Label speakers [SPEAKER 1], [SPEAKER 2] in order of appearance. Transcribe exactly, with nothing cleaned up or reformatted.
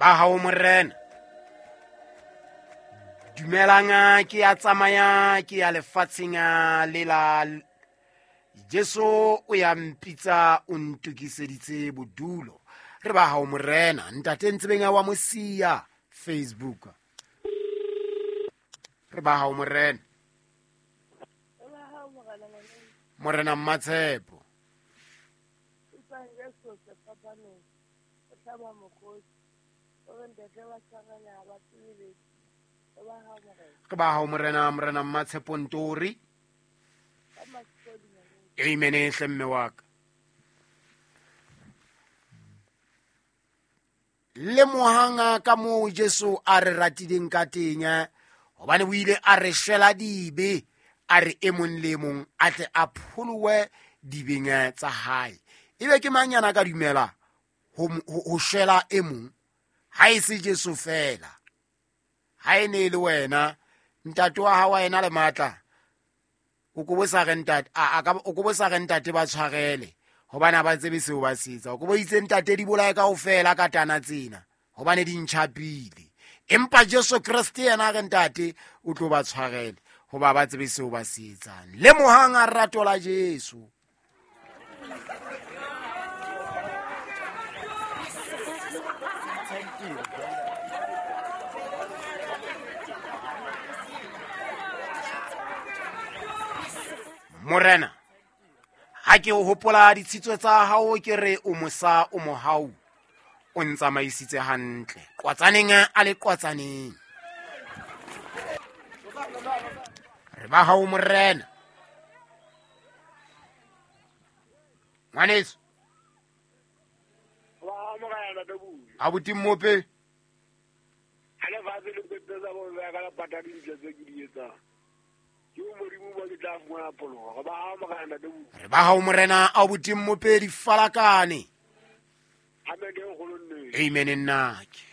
[SPEAKER 1] Ba hao morena. Dumelang ke ya tsamaya ke ya lefatsheng le la Jesu o ya mpitsa o ntokiseditse bodulo. Re ba hao morena. Ntate Ntsebeng wa Mosia Facebook. Re ba hao morena. Morena Mmatshepo. Re ba hao morena, morena Mmatshepo Ntori. Amen hle mme wa ka. Lemohang ka moo Jesu a re ratileng ka teng, hobane o ile a re shwela dibe, a re e mong le mong a tle a pholowe dibeng tsa hae. Ebe ke mang yana ka dumela ho ho shwela e mong ha e se Jesu fela? Ha e ne le wena ntate wa hao ena le matla, o ko bo sa re ntate a ka o ko bo sa re ntate ba tshwarele hobane ha ba tsebe seo ba se etsa. O ko bo itse ntate di bolaye kaofela ka tana tsena hobane di ntjhapile. Empa Jesu Kreste yena re ntate o tlo ba tshwarele hoba ba tsebe seo ba se etsang. Lemohang a rato la Jesu. Morena, ha ke o hopola ditshitso tsa hao, ke re o mosa o mohau, o ntsamaisitse hantle qwatsaneng a le qwatsaneng. Re ba hao morena. Ngwaneso abuti Mmope re ba hao morena abuti Mmope di falakane. Amen nnake.